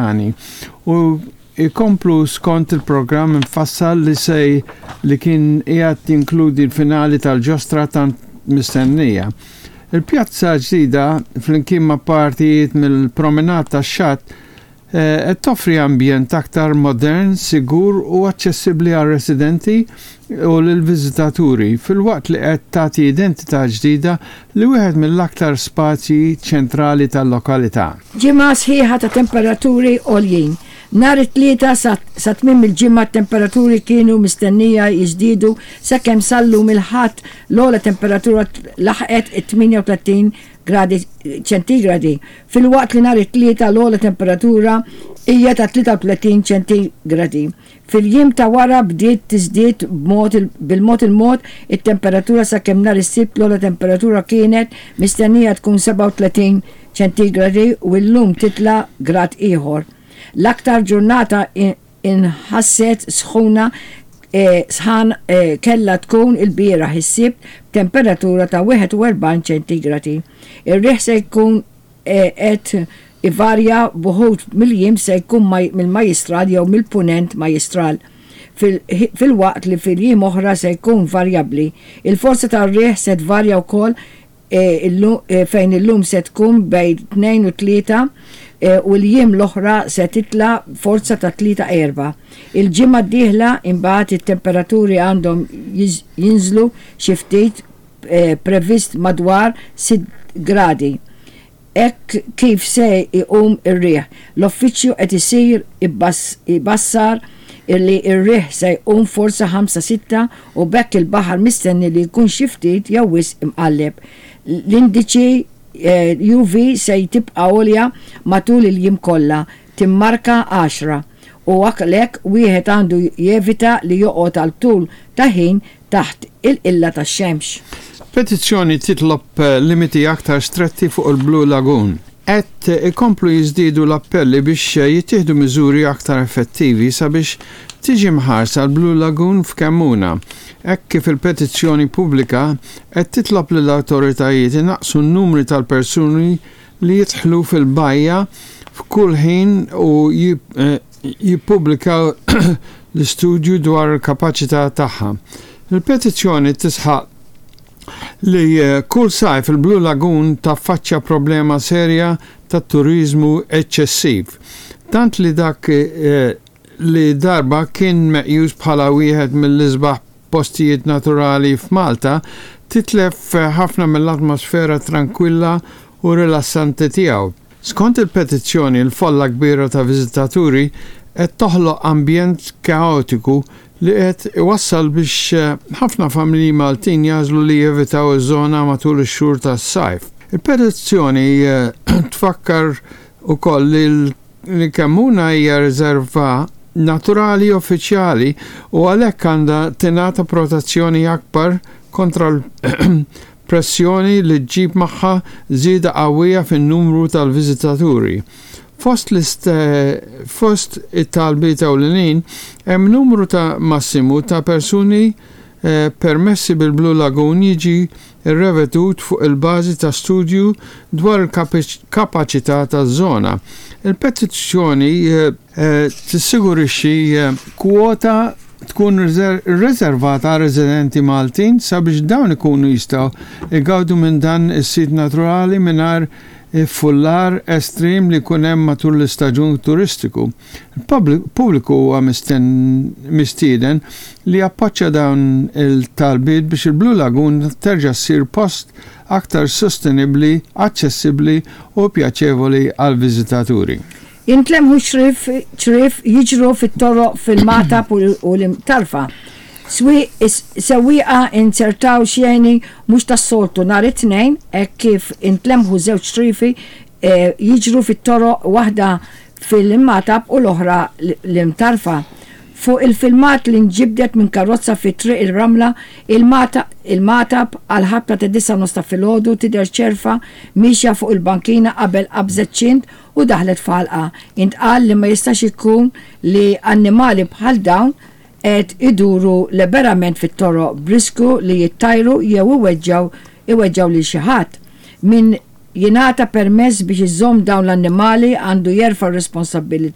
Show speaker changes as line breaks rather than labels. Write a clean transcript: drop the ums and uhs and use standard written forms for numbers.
pjani u jkomplu skont il-programm imfassal li se li kien qiegħed jinkludi l-finali tal-ġostra tant mistennija. Il-pjazza ġdida flimkien ma' partijiet mill-promenade tax-xatt qed toffri ambjent aktar modern, sigur u aċċessibbli għar-residenti u lill-viżitaturi, filwaqt li qed tagħti identità ġdida li wieħed mill-aktar spazji ċentrali tal-lokalità.
Ġimgħa sħiħa ta' temperaturi għoljin. Nhar it-Tlieta sa tmiem il-ġimgħa t-temperaturi kienu mistennija jiżdiedu sakemm sal-lum il-Ħadd l-ogħla temperatura laħqet it-38 gradi ċentigradi, filwaqt li nhar it-Tlieta l-ogħla temperatura hija ta' 33 ċentigradi. Fil-jiem ta' wara bdiet tiżdied b'mod bil-mod il-mod it-temperatura sakemm nhar is-Sibt l-ogħla temperatura kienet mistennija tkun 37 ċentigradi u llum titla' grad ieħor. L-aktar ġurnata inħasset sħuna sħan kellha tkun ilbieraħ is-Sibt b'temperatura ta' 41 ċentigradi. Ir-riħ se jkun qed ivarja b'uħud mill-jiem se jkun mill-Majjistral jew mill-Punent Majjistral filwaqt li fil-jiem oħra se jkun varjabbli. Il-forza tar-riħ se tvarja wkoll fejn illum se tkun bejn 2 u 3 u l-jiem l-oħra se titla' forza ta' 3 4. Il-ġimgħa d-dieħla imbagħad it-temperaturi għandhom jinżlu xi ftit previst madwar 6 gradi. Hekk kif se jqum ir-riħ, l-Uffiċċju qed isir ibassar li r-riħ se jqum forza ħamsa sitta u b'hekk il-baħar mistenni li jkun xi ftit jew wisq imqalleb. L-indiċi UV se tibqa' għolja matul il-jiem kollha, timmarka għaxra, u għalhekk wieħed għandu jevita li joqgħod għal tul ta' ħin taħt il-qilla tax-xemx.
Petizzjoni titlob limiti aktar stretti fuq il-Blue Lagoon. Qed ikomplu jiżdiedu l-appelli biex jittieħdu miżuri aktar effettivi sabiex tiġi mħarsa l-Blue Lagoon f'Kemmuna, hekk kif il-petizzjoni pubblika qed titlob lill-awtoritajiet inaqqsu n-numri tal-persuni li jidħlu fil-bajja f'kull ħin u jippubblikaw l-istudju dwar il-kapaċità tagħha. Il-petizzjoni tisħaq li kull sajf il-Blue Lagoon taffaċċja problema serja ta' turiżmu eċċessiv, tant li dak li darba kien meqjus bħala wieħed mill-isbaħ postijiet naturali f'Malta titlef ħafna mill-atmosfera trankwilla u rilassanti tiegħu. Skont il-petizzjoni l-folla kbira ta' viżitaturi qed toħloq ambjent kaotiku li qed iwassal biex ħafna familji Maltin jagħżlu li jevitaw iż-żona matul ix-xhur tas-sajf. Il-petizzjoni tfakkar ukoll li li Kemmuna hija riżerva naturali uffiċjali u għalhekk għandha tingħata protezzjoni akbar kontra l-pressjoni li ġġib magħha żieda qawwija fin-numru tal-viżitaturi. Fost fost it-talbiet ewlenin hemm numru ta' massimu ta' persuni permessi bil-Blue Lagoon jiġi rrevedut fuq il-bażi ta' studju dwar il-kapaċità taż-żona. Il-petizzjoni tissigurixxi kwota tkun riservata għar-residenti Maltin sabiex dawn ikunu jistgħu jgawdu minn dan is-sit naturali mingħajr iffullar estrim li jkun hemm matul l-istaġun turistiku. Il-pubbliku huwa mistieden li jappoġġja dawn il-talbiet biex il-Blue Lagoon terġa' ssir post aktar sostenibbli, aċċessibbli u pjaċevoli għall-viżitaturi.
Jintlemħu ċriev jiġru fit-toroq fil-Magħtab u l-Imtarfa. Sewwieqa inzertaw xeni mhux tas-soltu nhar it-Tnejn hekk kif intlemħu żewġ ċrievi jiġru fit-toroq waħda fil-Magħtab u l-oħra l-Imtarfa. Fuq il-filmat li nġibdet minn karozza fi Triq ir-Ramla, il-Magħtab għall-ħabta ta' disgħa u nofs ta' filgħodu tidher ċerfa miexja fuq il-bankina qabel qabżet ċint u daħlet f'għalqa. Intqal li ma jistax ikun li annimali bħal dawn qed iduru liberament fit-toroq b'riskju li jittajru jew iweġġgħu lil xi ħadd. Min jingħata permess biex iżomm dawn l-annimali għandu jerfa' r-responsabbiltà.